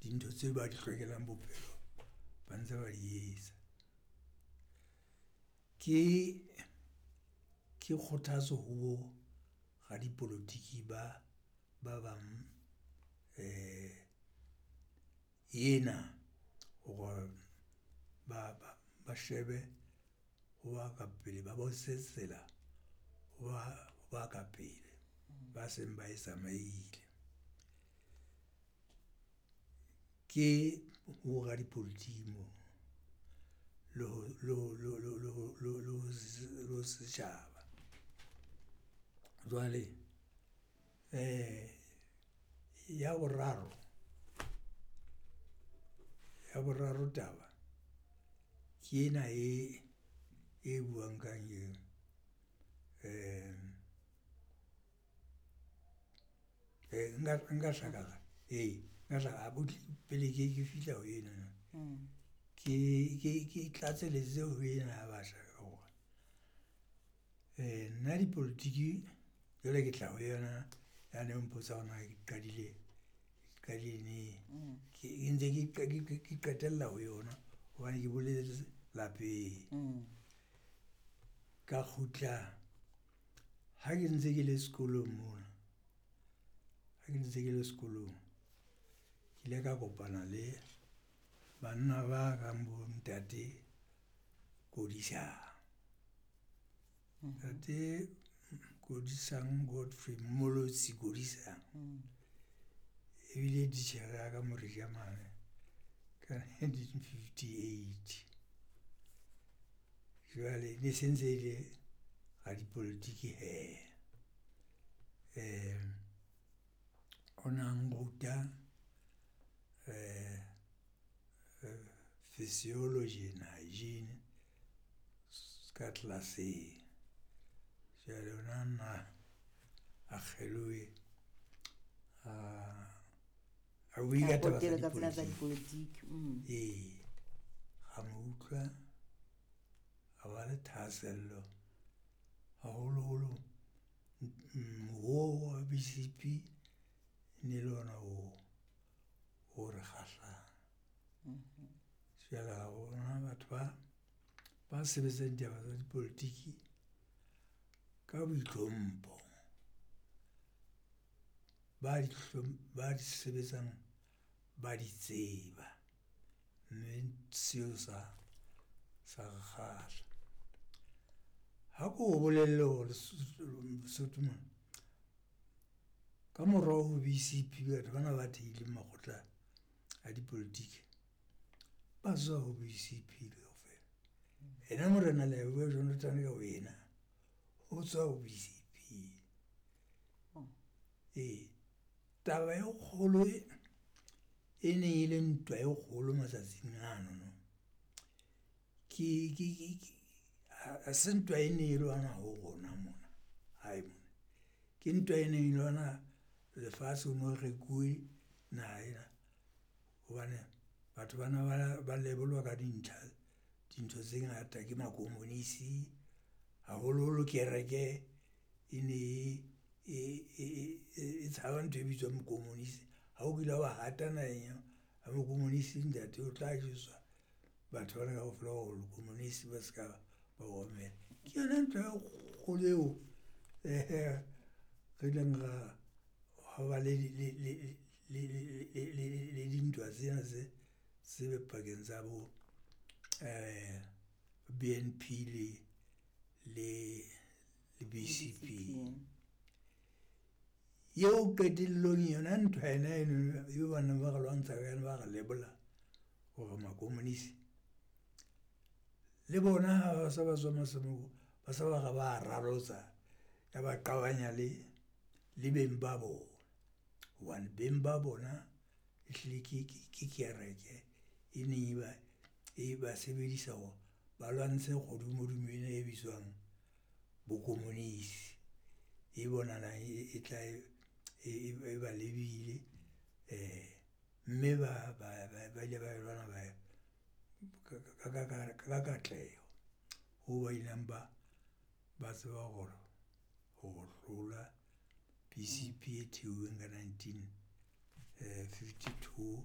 Dintho tseo ba di hlokelang bophelo ba ntse ba di etsa. Ke kgothatso ho bo radipolotiki ba bang ena hore ba shebe ho ba ka pele, ba bontshe tsela ho ba ka pele ba seng ba e tsamaile. Ke ho radipolotiki moo le ho setjhaba. Jwale ya boraro, ya boraro taba ke ena e buang kang eo. Nka ee, pele ke fihla ho enono. Ke tlatselletse ho ena ya batjha ka hore nna dipolotiki jwale ke tla ho yona yane o mpotsa hore na ke qadile neng? Ke ntse ke qetella ho yona hobane ke boletse lapeng. Ka kgutla ha ke ntse ke le sekolong mona, ha ke ntse ke le sekolong. Ke ile ka kopana le banna ba kang bo ntate Kodisang. Ntate Kodisang Godfrey Mmolotsi Kodisang ebile titjhere ya ka Morija mane ka 1958. Jwale e ne se ntse e le radipolotiki hee. O na nruta physiology and hygiene ka tlelaseng. Jwale o na nna a kgelohe, a bue ka taba tsa dipolotiki. Ee, ra mo utlwa, ra ba le thahasello haholoholo moruo wa BCP e ne le ona o re kgahlang. Jwale ra bona batho ba sebetsang ditaba tsa dipolotiki ka boitlhompho, ba di sebetsang, ba di tseba. Mme seo sa re kgahla. Ha ko bolelle hore Lesotho mona ka morao ho BCP batho bana ba thehileng makgotla a dipolotiki ba tswa ho BCP kaofela. Ena Morena Leboya Jonathan ka bo yena o tswa ho BCP. Ee, taba e kgolo e neng e le ntwa e kgolo matsatsing ano ke ha se ntwa e ne e lwana ho rona mona hae mona. Ke ntwa e neng e lwana lefatshe ho no rekuwe naha ena hobane batho ba na ba lebolwa ka dintlha, dintho tse ngata ke makomonisi, haholoholo kereke e ne e tshaba ntho e bitswang bokomonisi. Ha o kile wa hata naheng ya bokomonisi ntate o tla jwetswa batho bana kaofela hore o lekomonisi ba ska ba o mamela. Ke yona ntho e kgolo eo re ileng ra ba le dintwa tsena tse pakeng tsa bo BNP le BCP. Eo qetellong yona ntwa yona enono eo baneng ba re lwantsha ka yona, ba re lebola hore makomonisi. Le bona ha ba se ba tswa ba se ba re ba ralotsa, ya ba qabanya le beng ba bona. Hobane beng ba bona ehlile ke kereke e neng e ba sebedisa hore ba lwantshe kgodumodumo ena e bitswang bokomonisi. E bonahalang e tla e ba lebile mme ba ile ba e lwana ka katleho hoo ba ileng ba tseba hore ho hlola BCP e theuweng ka 1952.